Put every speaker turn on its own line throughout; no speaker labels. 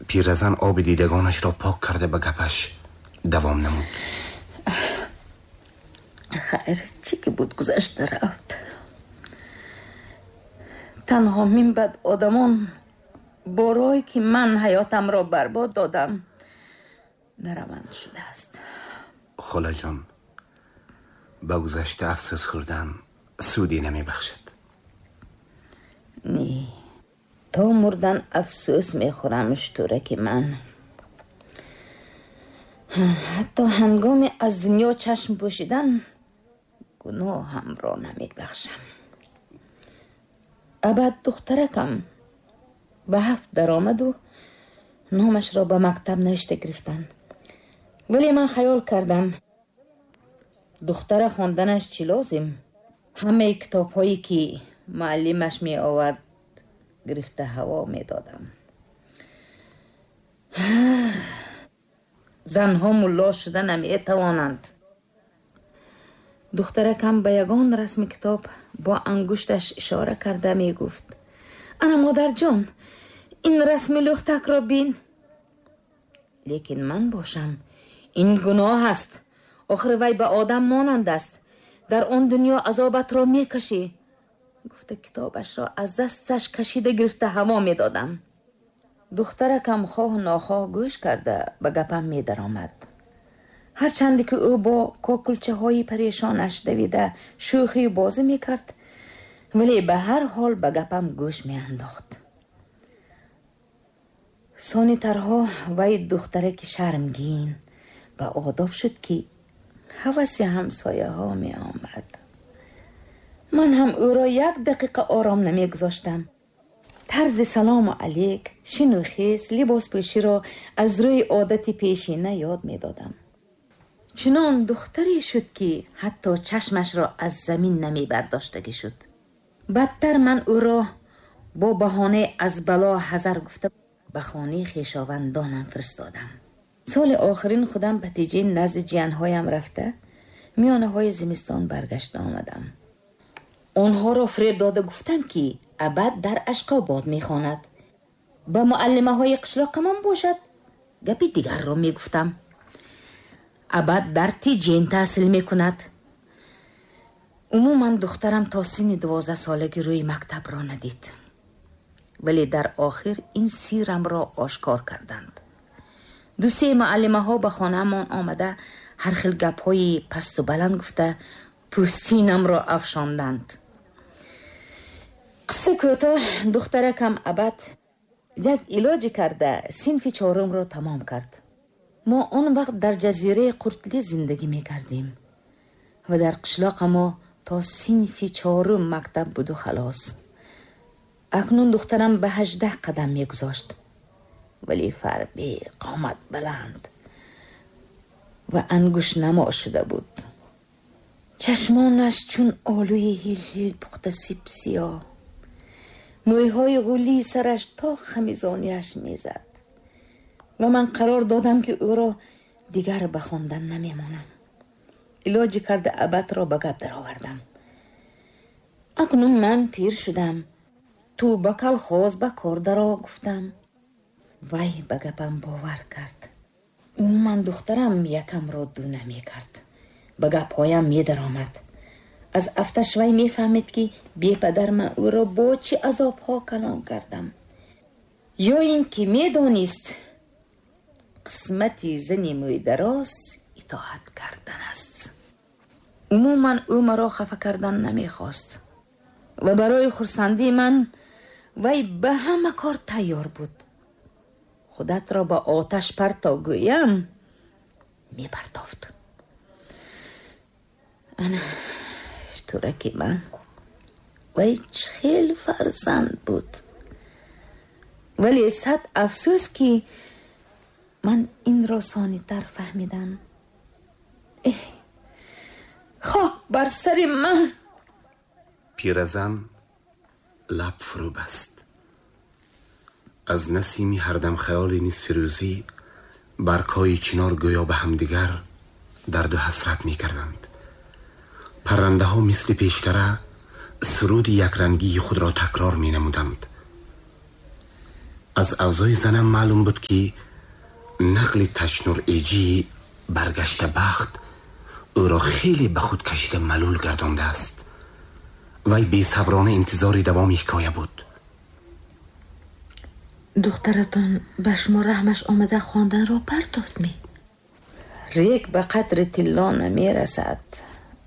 Пиразан оби дидагонашро пок карда ба гапаш давом намуд.
Хайр, чӣ ки буд, гузашта рафт. Танҳо минбаъд одамон бо роҳе ки ман ҳаётамро барбод додам, нараванд шудааст.
Холаҷон, ба гузашта афсӯс хӯрдан суде намебахшад.
Не, то мурдан афсӯс мехӯрам, штураки ман. Ҳатто ҳангоми аз дунё чашм пӯшидан гуноҳамро намебахшам. Абад духтаракам ба 7 даромаду номашро ба мактаб навишта гирифтанд. Вале ман хаёл кардам, духтара хонданаш чӣ лозим? Ҳамаи китобҳое ки муаллимаш меовард, гирифта ҳаво медодам. Занҳо мулло шуда наметавонанд. Духтаракам ба ягон расми китоб бо ангушташ ишора карда мегуфт: ана модарҷон, ин расми лӯхтакро бин. Лекин ман бошам, ин гуноҳ аст. Охир вай ба одам монанд аст. Дар он дунё азобатро мекашӣ. Гуфта китобашро аз дасташ кашида гирифта ҳаво медодам. Духтаракам хоҳ нохоҳ гӯш карда ба гапам медаромад. Ҳарчанде ки ӯ бо кокулчаҳои парешонаш давида шӯхию бозӣ мекард, вале ба ҳар ҳол ба гапам гӯш меандохт. Сонитарҳо вай духтараки шармгин ба одоб шуд, ки ҳаваси ҳамсояҳо меомад. Ман ҳам ӯро як дақиқа ором намегузоштам. Тарзи салому алейк, шину хез, либоспӯширо аз рӯи одати пешина ёд медодам. Чунон духтаре шуд, ки ҳатто чашмашро аз замин намебардоштагӣ шуд. Бадтар ман ӯро бо баҳонаи аз бало ҳазар гуфта ба хонаи хешовандонам фиристодам. Соли охирин худам ба Теҷен назди ҷиянҳоям рафта, миёнаҳои зимистон баргашта омадам. Онҳоро фиреб дода гуфтам, ки абад дар Ашқобод мехонад. Ба муаллимаҳои қишлоқамон бошад, гапи дигарро мегуфтам. Абад дар Теҷен таҳсил мекунад. Умуман духтарам то синни 12 солагӣ рӯи мактабро надид. Вале дар охир ин сирамро ошкор карданд. Ду-се муаллимаҳо ба хонаамон омада ҳар хел гапҳои пасту баланд гуфта пӯстинамро афшонданд. Қисса кӯтоҳ, духтаракам абад як илоҷе карда синфи 4-ро тамом кард. Мо он вақт дар ҷазираи Қуртли зиндагӣ мекардем ва дар қишлоқа мо то синфи 4 мактаб буду халос. Акнун духтарам ба 18 қадам мегузошт, вале фарбе, қомат баланд ва ангуштнамо шуда буд. Чашмонаш чун олӯи ҳил-ҳил пухта сибсиёҳ, мӯйҳои ғулии сараш то хамизонияш мезад ва ман қарор додам, ки ӯро дигар ба хондан намемонам. Илоҷӣ карда абадро ба гап даровардам. Акнун ман пир шудам, ту ба калхоз ба кор даро, гуфтам. Вай ба гапам бовар кард. Умуман духтарам якамро ду намекард, ба гапҳоям медаромад. Аз афташ вай мефаҳмид, ки бепадар ман ӯро бо чӣ азобҳо калон кардам, ё ин ки медонист қисмати зани мӯйдароз итоат кардан аст. Умуман ӯ маро хафа кардан намехост ва барои хурсандии ман вай ба ҳама кор тайёр буд. Худатро ба оташ парто гӯям, мепартофт. Ана штураки ман, вай хел фарзанд буд, вале сад афсӯс, ки ман инро сонитар фаҳмидам. Эҳ, хок бар сари ман!
Пиразан лаб фурӯ баст. Аз насими ҳардам хаёли нисфирӯзӣ баргҳои чинор гӯё ба ҳамдигар дарду ҳасрат мекарданд. Паррандаҳо мисли пештара суруди якрангии худро такрор менамуданд. Аз авзои занам маълум буд, ки нақли ташнур эҷии баргашта бахт ӯро хеле ба худ кашида малул гардондааст. Вай бесаброна интизори давоми ҳикоя буд.
Духтаратон ба шумо раҳмаш омада хонданро партофт ми?
Рег ба қадри тилло намерасад,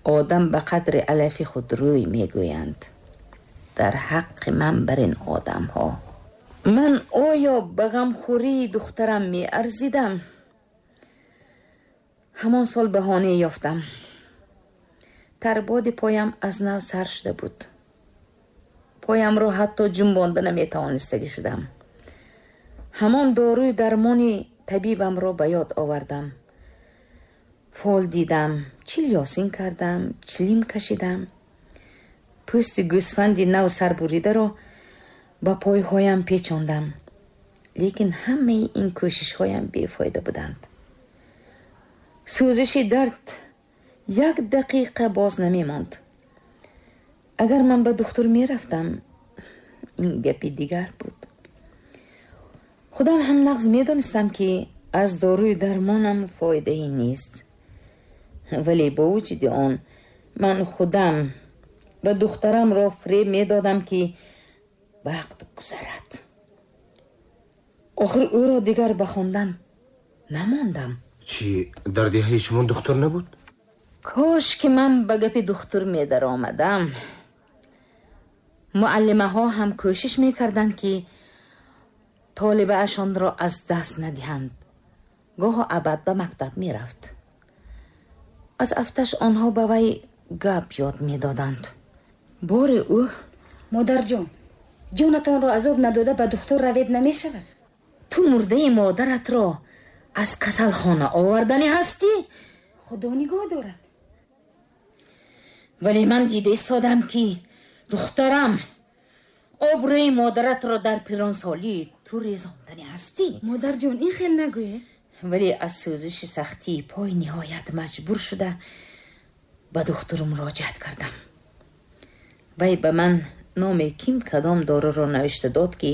одам ба қадри алафи худ рӯй мегӯянд. Дар ҳаққи ман бар ин одамҳо. Ман оё ба ғамхӯрии духтарам меарзидам? Ҳамон сол баҳонае ёфтам. Тарбоди поям аз нав сар шуда буд. Поямро ҳатто ҷунбонда наметавонистагӣ шудам. Ҳамон доруи дармони табибамро ба ёд овардам. Фол дидам, чил ёсин кардам, чилим кашидам. Пӯсти гӯсфанди нав сарбуридаро ба пойҳоям печондам. Лекин ҳамаи ин кӯшишҳоям бефоида буданд. Сӯзиши дард як дақиқа боз намемонд. Агар ман ба духтур мерафтам, ин гапи дигар буд. Худам ҳам нағз медонистам, ки аз доруи дармонам фоидае нест. Вале бо вуҷуди он ман худам ба духтарамро фиреб медодам, ки вақт гузарад. Охир ӯро дигар ба хондан намондам.
Чӣ, дар деҳаи шумо духтур набуд?
Кош ки ман ба гапи духтур медаромадам. Муаллимаҳо ҳам кӯшиш мекарданд, ки толибаашонро аз даст надиҳанд. Гоҳо абад ба мактаб мерафт. Аз афташ онҳо ба вай гап ёд медоданд. Бори ӯ:
Модарҷон, ҷонатонро азоб надода ба духтур равед намешавад?
Ту мурдаи модаратро аз касалхона оварданӣ ҳастӣ?
Худо нигоҳ дорад.
Вале ман дида истодам, ки духтарам обрӯи модаратро дар пиронсолӣ ту резонданӣ ҳастӣ.
Модарҷон, ин хел нагӯед.
Вале аз сӯзиши сахтии пой ниҳоят маҷбур шуда ба духтур муроҷиат кардам. Вай ба ман номи ким кадом доруро навишта дод, ки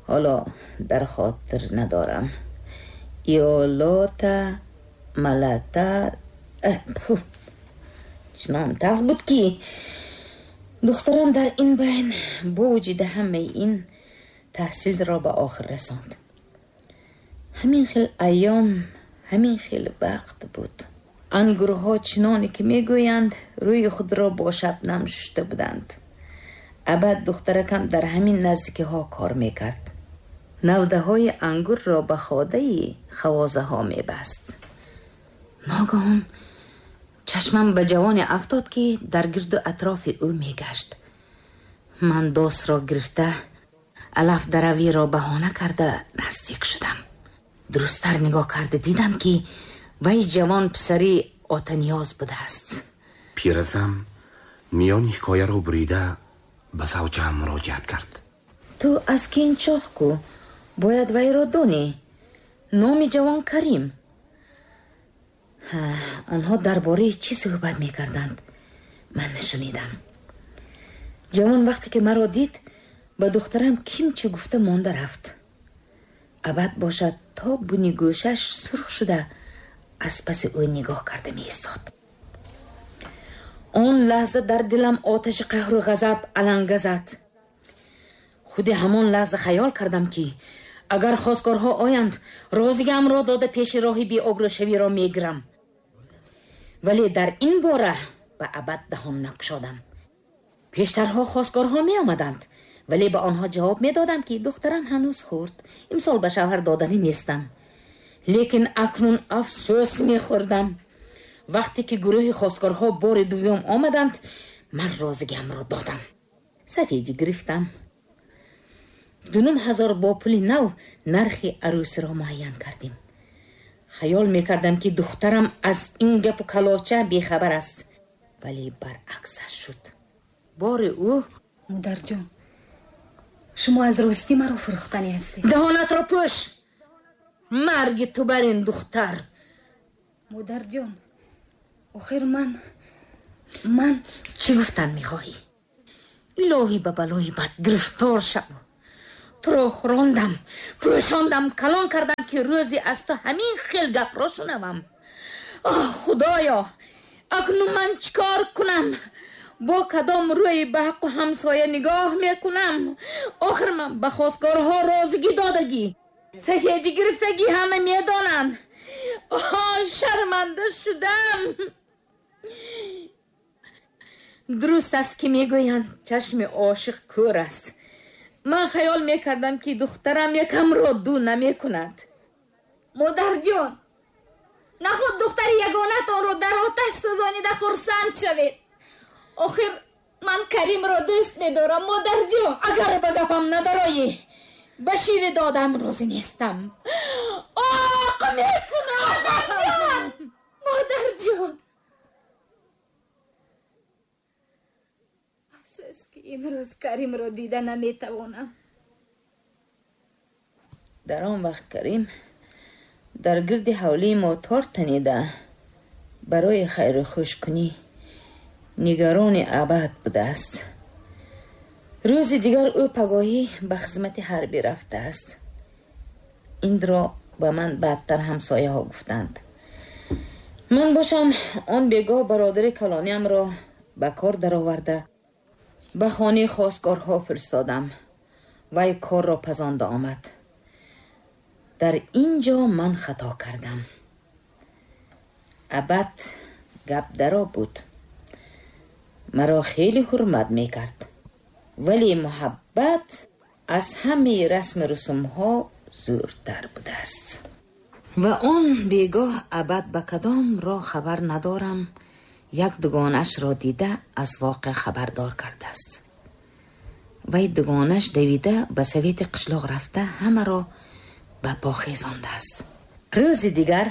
ҳоло дар хотир надорам. Иолота малата, чунон талх буд, ки духтарам дар ин байн бо вуҷуди ҳамаи ин таҳсилро ба охир расонд. Ҳамин хел айём, ҳамин хел вақт буд. Ангурҳо чуноне ки мегӯянд, рӯи худро бо шабнам шушта буданд. Абад духтаракам дар ҳамин наздикиҳо кор мекард. Навдаҳои ангурро ба ходаи хавозаҳо мебаст. Ногаҳон чашмам ба ҷавоне афтод, ки дар гирду атрофи ӯ мегашт. Ман досро гирифта, алаф даравиро баҳона карда наздик шудам. Дурусттар нигоҳ карда дидам, ки вай ҷавон писари Отаниёз будааст.
Пиразам миёни ҳикояро бурида ба завҷаам муроҷиат кард.
Ту аз Кинчоҳ ку, бояд вайро донӣ. Номи ҷавон Карим. Онҳо дар бораи чӣ суҳбат мекарданд, ман нашунидам. Ҷавон вақте ки маро дид, ба духтарам ким чӣ гуфта монда рафт. Абад бошад то буни гӯшаш сурх шуда аз паси ӯ нигоҳ карда меистод. Он лаҳза дар дилам оташи қаҳру ғазаб аланга зад. Худи ҳамон лаҳза хаёл кардам, ки агар хосгорҳо оянд, розигаамро дода пеши роҳи беобрӯшавиро мегирам. Вале дар ин бора ба абад даҳон накушодам. Пештарҳо хосгорҳо меомаданд, вале ба онҳо ҷавоб медодам, ки духтарам ҳанӯз хурд, имсол ба шавҳар доданӣ нестам. Лекин акнун афсӯс мехӯрдам. Вақте ки гурӯҳи хосгорҳо бори дуюм омаданд, ман розигиамро додам. Сафедӣ гирифтам. 2500 бо пули нав нархи арӯсиро муайян кардем. Хаёл мекардам, ки духтарам аз ин гапу калоча бехабар аст, вале баръаксаш шуд. Бори ӯ:
Модарҷон, шумо аз ростӣ маро фурӯхтанӣ ҳастед.
Даҳонатро пӯш! Марги ту бар ин духтар!
Модарҷон, охир ман
чӣ гуфтан мехоҳӣ? Илоҳӣ ба балои бад гирифтор шав. Туро хӯрондам, пӯшондам, калон кардам, ки рӯзе аз ту ҳамин хел гапро шунавам. Оҳ, Худоё, акнун ман чӣ кор кунам? Бо кадом рӯи ба ҳаққу ҳамсоя нигоҳ мекунам? Охир ман ба хостгорҳо розигӣ додагӣ, сафедӣ гирифтагӣ, ҳама медонанд. Оҳ, шарманда шудам. Дуруст аст, ки мегӯянд чашми ошиқ кӯр аст. Ман хаёл мекардам, ки духтарам якамро ду намекунад.
Модарҷон, наход духтари ягонатонро дар оташ сӯзонида хурсанд шавед. Охир ман Каримро дӯст медорам, модарҷон.
Агар ба гапам надароӣ, ба шири додам розӣ нестам. Оқ мекунам.
Модарҷон, модарҷон. Афсӯс, ки имрӯз Каримро дида наметавонам.
Дар он вақт Карим дар гирди ҳавлии мо тор танида барои хайру хушкунӣ нигарони абад будааст. Рӯзи дигар ӯ пагоҳӣ ба хизмати ҳарбӣ рафтааст. Инро ба ман баъдтар ҳамсояҳо гуфтанд. Ман бошам он бегоҳ бародари калониамро ба кор дароварда ба хонаи хостгорҳо фиристодам. Вай корро пазонда омад. Дар ин ҷо ман хато кардам. Абад гап даро буд. Маро хеле ҳурмат мекард, вале муҳаббат аз ҳамаи расму русумҳо зӯртар будааст. Ва он бегоҳ абад ба кадом роҳ хабар надорам, як дугонаашро дида аз воқеа хабардор кардааст. Вай дугонааш давида ба совети қишлоқ рафта ҳамаро ба по хезондааст. Рӯзи дигар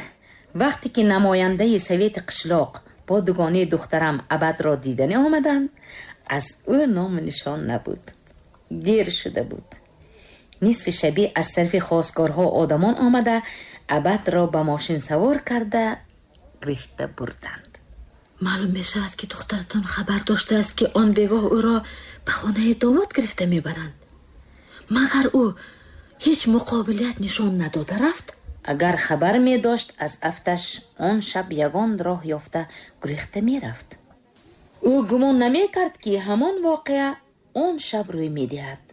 вақте ки намояндаи совети қишлоқ бо дугонаи духтарам абадро дидани омаданд, аз ӯ ному нишон набуд. Дер шуда буд. Нисфи шабӣ аз тарафи хостгорҳо одамон омада абадро ба мошин савор карда гирифта бурданд.
Маълум мешавад, ки духтаратон хабар доштааст, ки он бегоҳ ӯро ба хонаи домод гирифта мебаранд. Магар ӯ ҳеҷ муқобилият нишон надода рафт?
Агар хабар медошт, аз афташ он шаб ягон роҳ ёфта гурехта мерафт. Ӯ гумон намекард, ки ҳамон воқеа он шаб рӯй медиҳад.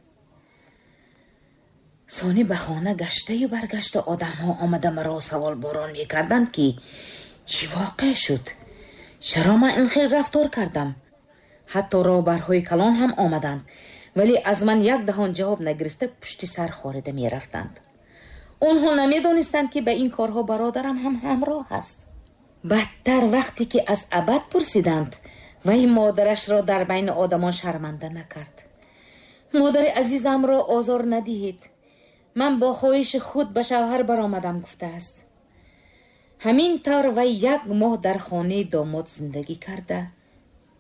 Сони ба хона гаштаю баргашта одамҳо омада маро саволборон мекарданд, ки чӣ воқеа шуд, чаро ман ин хел рафтор кардам. Ҳатто роҳбарҳои калон ҳам омаданд, вале аз ман як даҳон ҷавоб нагирифта пушти сар хорида мерафтанд. Онҳо намедонистанд, ки ба ин корҳо бародарам ҳам ҳамроҳ аст. Бадтар вақте ки аз абад пурсиданд, вай модарашро дар байни одамон шарманда накард. Модари азизамро озор надиҳед, ман бо хоҳиши худ ба шавҳар баромадам, гуфтааст. Ҳамин тавр вай як моҳ дар хонаи домод зиндагӣ карда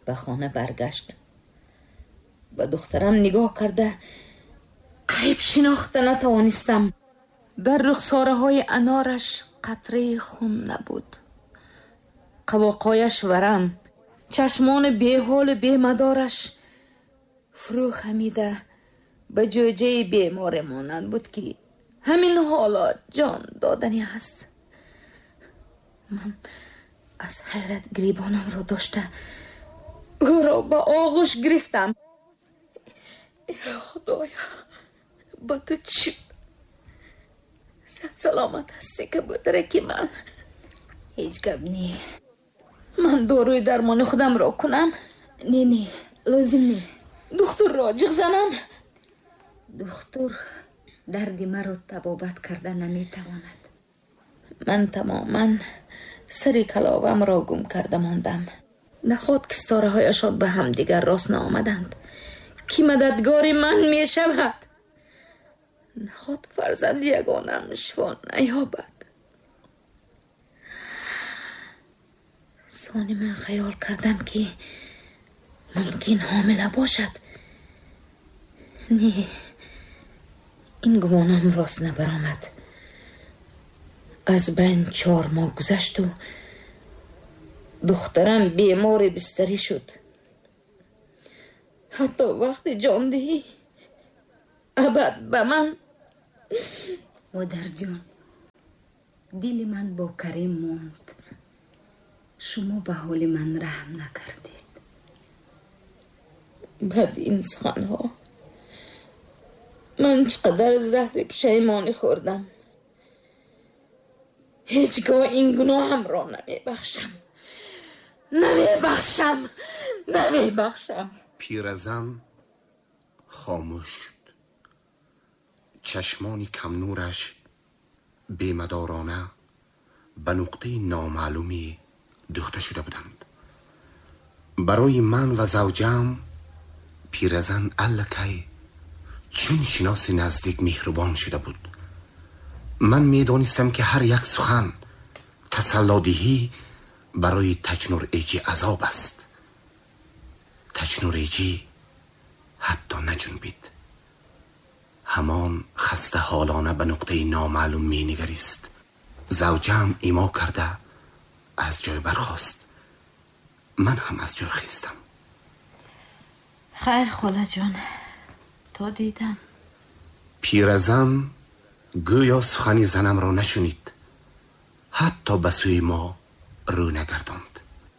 ба хона баргашт. Ба духтарам нигоҳ карда қариб шинохта натавонистам. Дар рухсораҳои анораш қатраи хун набуд. Қавоқояш варам, чашмони беҳолу бемадораш фурӯ хамида ба ҷӯҷаи беморе монанд буд, ки ҳамин ҳоло ҷон додани аст. Ман аз ҳайрат гирибонамро дошта ӯро ба оғӯш гирифтам. Худоё, ба ту чӣ саломат ҳастӣ, кабӯтараки ман?
Ҳеҷ гап не.
Ман доруи дармони худамро кунам?
Не, не, лозим не.
Духтурро ҷиғ занам?
Духтур дарди маро табобат карда наметавонад.
Ман тамоман сари каловамро гум карда мондам. Наход ки ситораҳояшон ба ҳамдигар рост наомаданд, ки мададгори ман мешавад? Наход фарзанди ягонам шифо наёбад? Сони ман хаёл кардам, ки мумкин ҳомила бошад. Не, ин гумонам рост набаромад. Аз байн 4 моҳ гузашту духтарам бемори бистарӣ шуд. Ҳатто вақти ҷондиҳӣ Абад ба ман.
Модарҷон, дили ман бо Карим монд. Шумо ба ҳоли ман раҳм накардед.
Бад ин суханҳо. Ман чӣ қадар заҳри пушаймонӣ хӯрдам. Ҳеҷ гоҳ ин гуноҳамро намебахшам, намебахшам, намебахшам.
Пиразан хомӯш шуд. Чашмони камнураш бемадорона ба нуқтаи номаълуме дӯхта шуда буданд. Барои ман ва завҷаам пиразан аллакай чун шиноси наздик меҳрубон шуда буд. Ман медонистам, ки ҳар як сухан, тасаллодиҳӣ барои Таҷнур Эҷӣ азоб аст. Таҷнур Эҷӣ ҳатто наҷунбид. Ҳамон хастаҳолона ба нуқтаи номаълум менигарист. Завҷаам имо карда аз ҷой бархост. Ман ҳам аз ҷой хестам.
Хайр, холаҷон, то дидан.
Пиразан гӯё сухани занамро нашунид, ҳатто ба сӯи мо рӯ нагардонд.